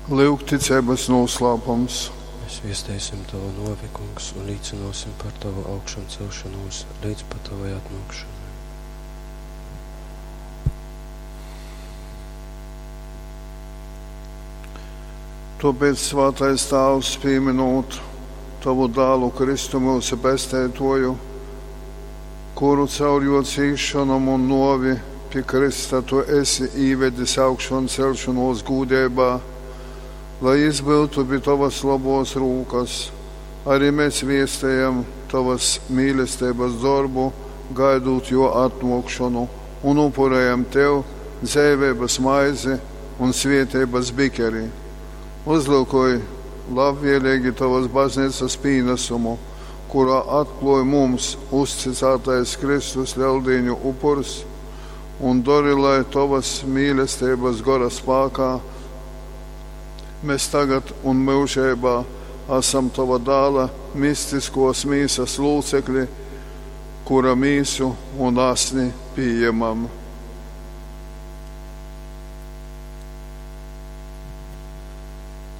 Lyugticeibas nūslāpums. Mēs viesteisim Tavu nōvi, Kungs, un līcynōsim par Tavu augšamcelšonūs leidz pat Tavai atnōkšonai. Tōpēc, svātais Tāvs, pīminūt Tavu dālu Kristu myusu Pesteitōju, kuru caur jō cīsšonom un nōvi pi krysta Tu esi īvedis augšancelšanōs gūdeibā, lai jys byutu pi Tovas lobōs rūkas, arī mēs viestejam Tovas mīlesteibas dorbu, gaidūt jō atnōkšonu, un upurējam Tev dzeiveibas maizi un svietības bikeri. Uzlyukoj labvēlīgi Tovas bazneicas pīnesumu, kurā atklōj mums uzticātais Kristus Leldīņu upurs, un dori, lai Tovas mīlesteibas gora spākā mēs tagad un myužeibā esam Tova dāla mistiskos mīsas lūcekļi, kura mīsu un asni pījemam.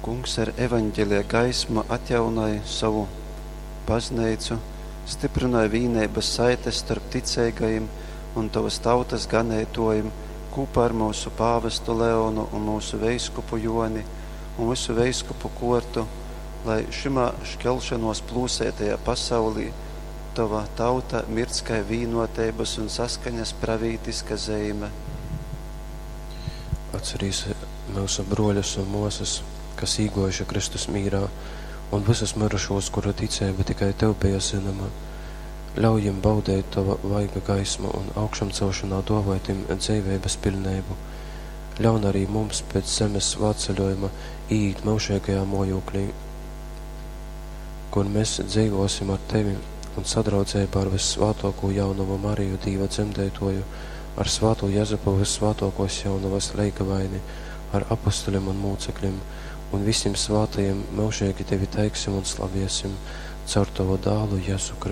Kungs ar evaņģelija gaismu atjaunoj sovu bazneicu, styprynoj vīneibas saites storp ticeigajim un tovas tautas ganeitōjim kūpā ar myusu pāvestu Leonu un myusu veiskupu Jōni un vysu veiskupu kōrtu, lai šymā škelšonōs plūseitajā pasaulī tova tauta mirdz kai vīnoteibas un saskaņas pravītiska zeime. Atcerīs myusu brōļus un mōsas, kas īgōjuši Kristus mīrā, un vysus myrušūs, kuru ticeiba tikai Tev beja zynoma. Ļauj jim baudeit Tova vaiga gaismu un augšamcelšanā dōvoj tim dzeiveibas piļneibu. Ļaun arī mums pēc zemes svātceļojuma īīt myužeigajā mōjūklī, kur mēs dzeivōsim ar Tevi un sadraudzeibā ar vyssvātōkū jaunovu Mariju Dīva dzemdeitōju, ar svātū Jezupu vyssvātōkōs jaunovas leigavaini, ar apostoļiem un mūcekļiem, un visiem svātajiem myužīgi Tevi teiksim un slaviesim caur Tavu dālu Jezu Kristu.